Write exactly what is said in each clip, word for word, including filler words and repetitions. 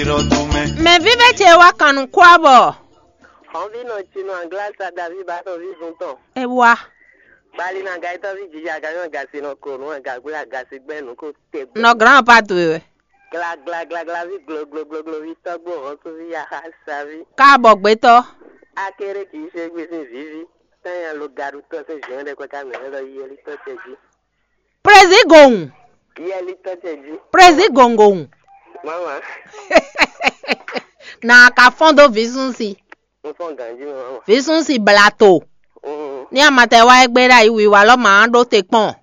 Mɛ vívɛ́ ce wá kan nǔ kú abɔ. Xɔnvínɔ cinɔ Anglasa Davi ba tɔn vívun tɔn. É wá. Bali na gaitɔ vi jija ganyɔ gasi nɔ ko nú gagula gasi gbɛ nú ko te gbɛ. Nɔ grand pa towe wɛ. Gla gla gla gla vi glo glo glo glo vi tɔgbo hɔnsu vi yaha savi. Káàbọ̀ gbétọ́. Akéré kì í ṣe gbé sín vivi. Tanya lo gaɖu tɔ sín zhɛn ɖe kɔ ká mɛ lɔ yeli tɔ tɛ jí. Président Gong. Yeli tɔ tɛ jí. Président Gong Gong. Mama. Na ka fɔn dó visunsi. N fɔn ganji mama. Visunsi blato. Mm. Ní amatɛ wá é gbé ɖa yi wiwa lɔ ma ɖó te kpɔn.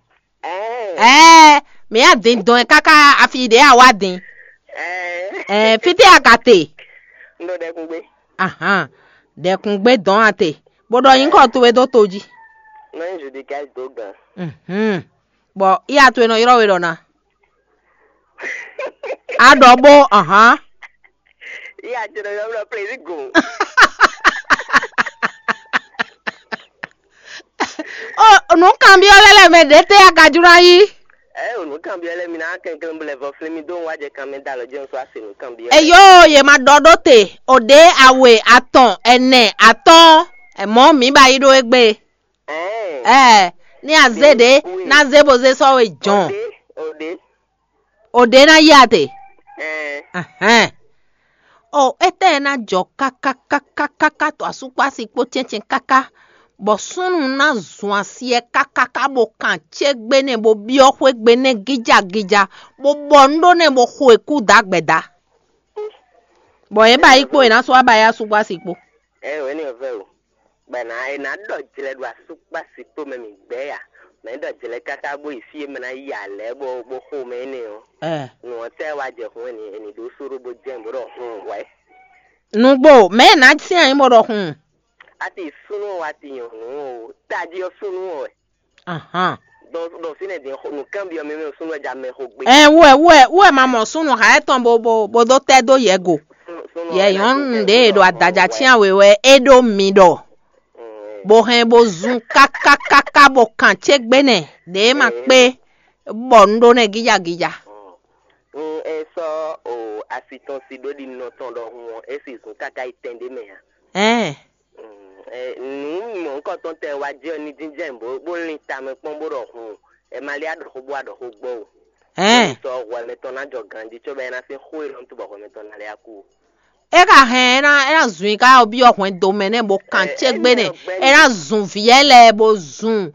Eh. Eh, mi ya din dɔn káká afi ɖe a wá din. Eh. Eh, fite a ka te. N ɖo ɖɛkun gbé. Ahan. Ɖɛkun gbé dɔn a te. Bó ɖɔ nyǐkɔ towe dó to jí. Mɛ judicais dó gan. Mhm. Bɔ iya towe nɔ ylɔ́ we ɖɔ na. A ɖɔ bó, ahán. Iya ce nɔ ylɔ́ blɔ plezi go. O nǔkanbyɔ́ lɛ́ lɛ́ mɛ ɖě tɛ́ a ka jló ná yí? Ɛ o nǔkanbyɔ́ lɛ́ mi ná kɛnklɛ́n bó lɛ vɔ flín mi dó wá jɛ kan mɛ da alɔ jɛ́n sɔ́ a se nǔkanbyɔ́. Eyo, yě ma ɖɔ ɖó te, o ɖě awe atɔn ɛnɛ atɔ́ɔ́n, ɛmɔ̌ mǐ ba yí ɖó égbé. Ɛɛ, ní a zé ɖě ná zé bó zé sɔ́ we jɔn. Òde. Òde ná yí ate. Ɛhɛn. O étɛ́ ná jɔ kákákákáká to asúkpási kpó cɛ́ncɛn káká, bɔ súnnu ná zun asi ɛ kákáká bó kan cé gbé nɛ́ bó byɔ́ xwé gbe nɛ́ gíjagíja, bó bɔ nú ɖó nɛ́ bó xo e kú dǎgbɛ̌dá. Bɔ yě ba yí kpó yě ná sɔ́ wá ba yá asúkpási kpó. Ɛ wɛ ní ɔvɛ o. Bɔ è nǎ è nǎ ɖɔ jlɛ ɖo asúkpási kpó mɛ mǐ gbɛ́ ya. Mɛ ɖɔ jlɛ káká bó yi fí e mɛ ná yi alɛ̌ bó bó xo mɛ énɛ́ ɔ́. Ɛ. Nǔ ɔ́ tɛ́ wá jɛ hun ɛni ɛni ɖó sóɖó bó jɛ́n bó ɖɔ hun wɛ. Nǔgbó mɛ ná syɛ́n nyí bó ɖɔ hun. A ti súnú ɔ́ wá ti nyɔ̌nu o, tají ɔ́ súnú ɔ́ wɛ. Ahan. Ɖɔ ɖɔ fínɛ́ din nǔkanbyɔ́ mɛ mɛ súnú wɛ ja mɛ xo gbé. Ɛ wú ɛ wú ɛ wú ɛ ma mɔ súnnu ha etɔn bo bo bo dó tɛ́ dó yɛ go. Yɛ nyɔ̌nu ɖě e ɖo adajà cyán we wɛ é ɖó mi ɖɔ. Bó hɛn bó zun kákákáká bó kan cé gbé nɛ ɖě ma kpé bɔ un ɖó nɛ gíjagíja. N e sɔ́ o asi tɔn si ɖó ɖi nɔ tɔn ɖɔhun ɔ́, é si zun káká yi tɛn ɖé mɛ ǎ. Ɛn. Nǔ mɔ̌hunkɔtɔn tɛ wá jɛ ní jínjɛ́n bó bó lín tamɛ kpɔ́n bó ɖɔ hun. Ɛ ma lé aɖɔxó bó aɖɔxó gbɔ o. Ɛn. Sɔ hwɛ mɛtɔn ná jɔ ganjí cóbɔ é ná sín xó e lɔn tó bɔ hwɛ mɛtɔn ná lé akú o. É ka hɛn é ná é ná zun i ká byɔ́ hwɛndo mɛ nɛ́ bó kan cé gbé nɛ. É ná zun vǐ ɛ lɛ́ɛ bó zun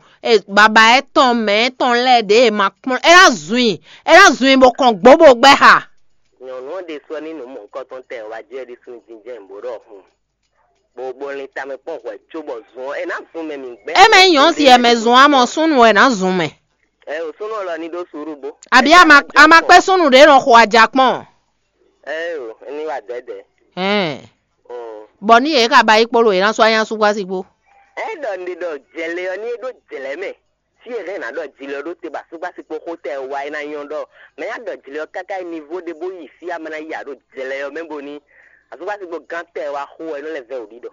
baba ɛtɔn mɛ ɛtɔn lɛ́ɛ ɖě e ma kplɔ́n é ná zun i é ná zun i bó kɔn gbó bó gbɛ́ xa. Nyɔ̌nu ɔ́ ɖésú ɔ́ ní nǔ mɔ̌hunkɔtɔn tɛ wá jɛ ɖi sín jínjɛ́n bó ɖɔ hun. Bó bó lin tamɛ kpɔ́n hwɛ cóbɔ zun ɔ́ é ná zun mɛ mǐ gbɛ́. É mɛ nyí nyɔ̌nu si ɛ mɛ zun amɔ súnnu wɛ ná zun mɛ. Ɛ o súnnu ɔ́ lɔ ní ɖó suúru bó. Àbí a ma a ma kpé súnnu ɖě nɔ xo aja kpɔ́n. Ɛ o ní wà dɛ̌dɛ̌. Ɛn. Bɔ ní yě ka ba yí kpó lo yě ná sɔ́ anyá súgbásí kpó. Ɛ ɖɔ ní ɖɔ jɛlɛ ɔ́ ní é ɖó jlɛ̌ mɛ. Fí e hɛn ná ɖɔ jlɛ ɔ́ ɖó te bɔ asúgbásí kpó xó tɛ wá é ná nyɔ́ ɖɔ mɛ ná ɖɔ jlɛ ɔ́ káká yi nivo ɖé bó yi fí amɛ ná ya ɖo jlɛ ɔ́ mɛ bó ní asúgbásí kpó gán tɛ wá xó wɛ é nɔ lɛ́ vɛ́ wǔ ɖiɖɔ.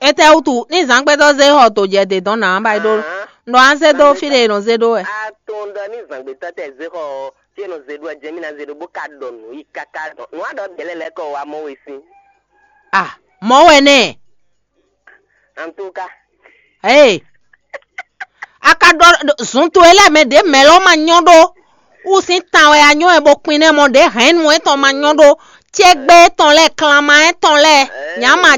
Étɛ́ wútu ní zǎngbɛ́tɔ́ zé xɔ to jɛ dě dɔn nǎ ba yi ɖó nɔ á zé dó fí ɖé e nɔ zé ɖó wɛ. Atɔn ɖɔ ní zǎngbɛ́tɔ́ tɛ zé xɔ ɔ́, fí e nɔ zé ɖó ɔ́ jɛ mí ná zé ɖó bó ka ɖɔ nǔ yi káká ɖɔ nǔ á ɖɔ bɛ̌ lɛ́ lɛ́ kɔ wá mɔ we sín. Ah, mɔ̌ wɛ nɛ. Antúka. Ee, a ka ɖɔ zun towe lɛ́ɛ mɛ ɖě mɛ lɔ́ ma nyɔ́ ɖó. Wú sín tan wɛ a nyɔ́ wɛ bó kpin nɛ́ mɔ ɖě hɛ̌nnu étɔn ma nyɔ́ ɖó. Cégbé étɔn lɛ́ɛ, klanma étɔn lɛ́ɛ, nyǎma